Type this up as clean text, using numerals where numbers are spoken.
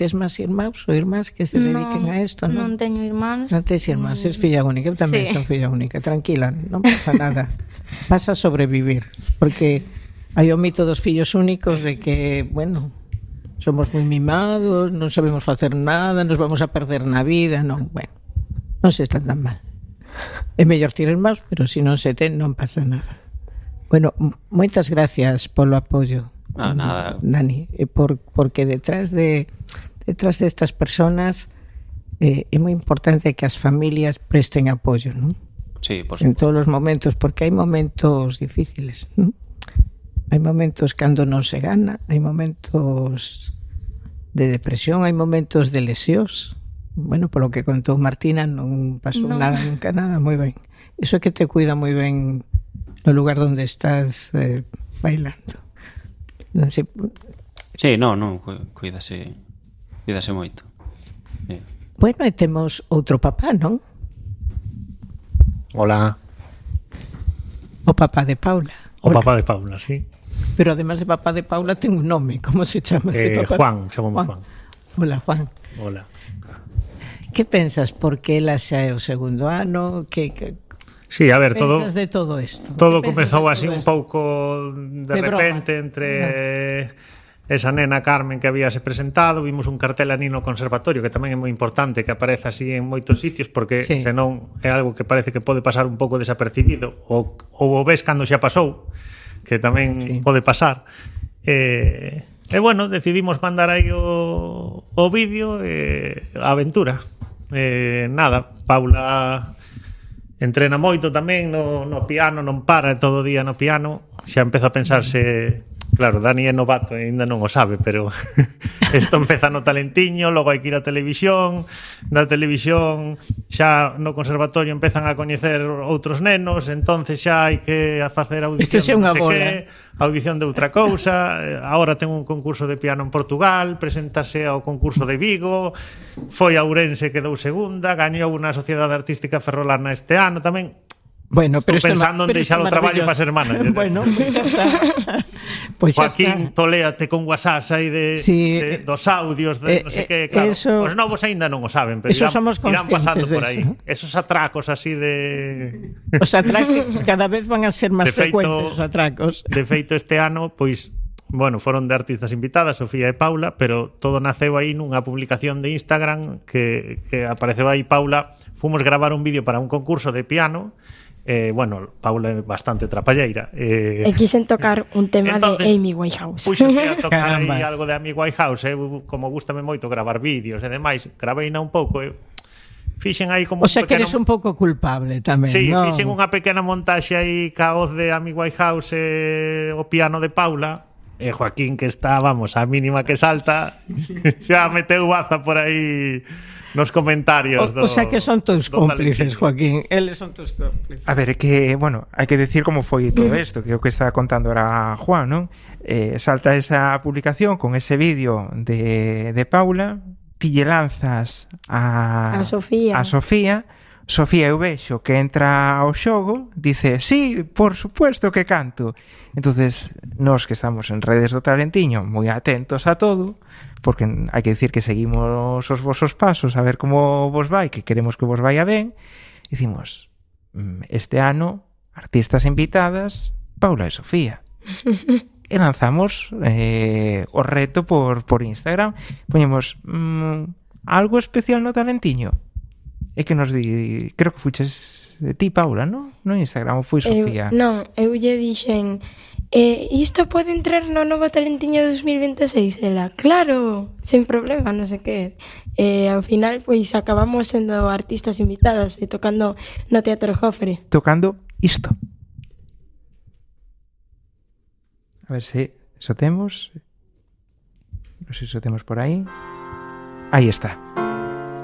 tes máis irmãos ou irmás que se dediquen a isto, non? Non teño irmáns. Non tes irmás, es filla única. Eu tamén son filla única. Tranquila, non pasa nada. Vas a sobrevivir. Porque hai o mito dos fillos únicos de que, bueno, somos moi mimados, non sabemos facer nada, nos vamos a perder na vida. Non, bueno, non se está tan mal. É mellor ter irmãos, pero se non se ten, non pasa nada. Bueno, moitas gracias polo apoio. Nada. Dani, porque detrás destas personas é moi importante que as familias presten apoio, non? Sí, por en todos os momentos, porque hai momentos difíciles, non? Hai momentos cando non se gana, hai momentos de depresión, hai momentos de lesións. Bueno, polo que contou Martina, non pasou nada, nunca nada, moi ben. Iso é que te cuida moi ben no lugar onde estás bailando. Non sei. Sí, non, cuídase moito. Bueno, e temos outro papá, non? Hola. O papá de Paula. O papá de Paula, sí. Pero además de papá de Paula ten un nome, como se chama ese papá? Juan, chamamos Juan. Hola, Juan. Hola. Que pensas? Porque ela xa é o segundo ano, que sí, a ver, todo de todo isto? Todo comezou así un pouco de repente broma. Entre esa nena Carmen que habíase presentado, vimos un cartel ali no conservatorio que tamén é moi importante que aparece así en moitos sitios porque senón é algo que parece que pode pasar un pouco desapercibido ou o ves cando xa pasou, que tamén pode pasar. E bueno, decidimos mandar aí o vídeo a aventura. Nada, Paula entrena moito tamén no piano, non para todo o día no piano. Xa empeza a pensarse, claro, Dani é novato e ainda non o sabe, pero isto empeza no talentiño, logo hai que ir á televisión, na televisión xa no conservatorio empezan a coñecer outros nenos, entonces xa hai que facer audición de non sei que, audición de outra cousa. Agora ten un concurso de piano en Portugal, preséntase ao concurso de Vigo, foi a Ourense, quedou segunda, gañou na Sociedade Artística Ferrolana este ano tamén. Bueno, pero estou pensando en deixar o traballo para ser manager. Bueno, pues xa está. Pues Joaquín, toléate con WhatsApp aí dos audios de non sei que, claro. Os novos aínda non o saben, pero irán pasando por aí. Esos atracos así de... Os atracos cada vez van a ser máis frecuentes, os atracos. De feito, este ano, pois, bueno, foron de artistas invitadas, Sofía e Paula, pero todo naceu aí nunha publicación de Instagram que apareceu aí Paula. Fomos gravar un vídeo para un concurso de piano. Bueno, Paula é bastante trapalleira. E quixen tocar un tema entonces, de Amy Winehouse. Puxense a tocar aí algo de Amy Winehouse. Como gustame moito gravar vídeos e demais, graveina un pouco. Fixen aí como o sea, que eres un pouco culpable tamén, sí, ¿no? Fixen unha pequena montaxe aí ca voz de Amy Winehouse e o piano de Paula. E Joaquín, que está, vamos, a mínima que salta, xa meteu baza por aí nos comentarios. O sea que son todos cómplices, Joaquín. Eles son todos cómplices. A ver, é que, bueno, hai que decir como foi todo isto, que é o que está contando ahora Juan, non? Salta esa publicación con ese vídeo de Paula, ti lle lanzas a Sofía. Sofía, eu vexo que entra ao xogo, dice, sí, por supuesto que canto. Entonces, nós que estamos en redes do Talentiño moi atentos a todo, porque hai que decir que seguimos os vosos pasos a ver como vos vai, que queremos que vos vaya ben, dicimos, este ano, artistas invitadas, Paula e Sofía. E lanzamos o reto por Instagram. Poñemos algo especial no Talentiño. É que nos di, creo que fuches ti, Paula, non? No Instagram, ou foi Sofía? Non, eu lle dixen isto pode entrar no novo Talentiño 2026, ela, claro, sen problema, non sei que. Ao final, pois, acabamos sendo artistas invitadas e tocando no Teatro Jofre. Tocando isto. A ver se iso temos. Non sei se iso temos por aí. Aí está.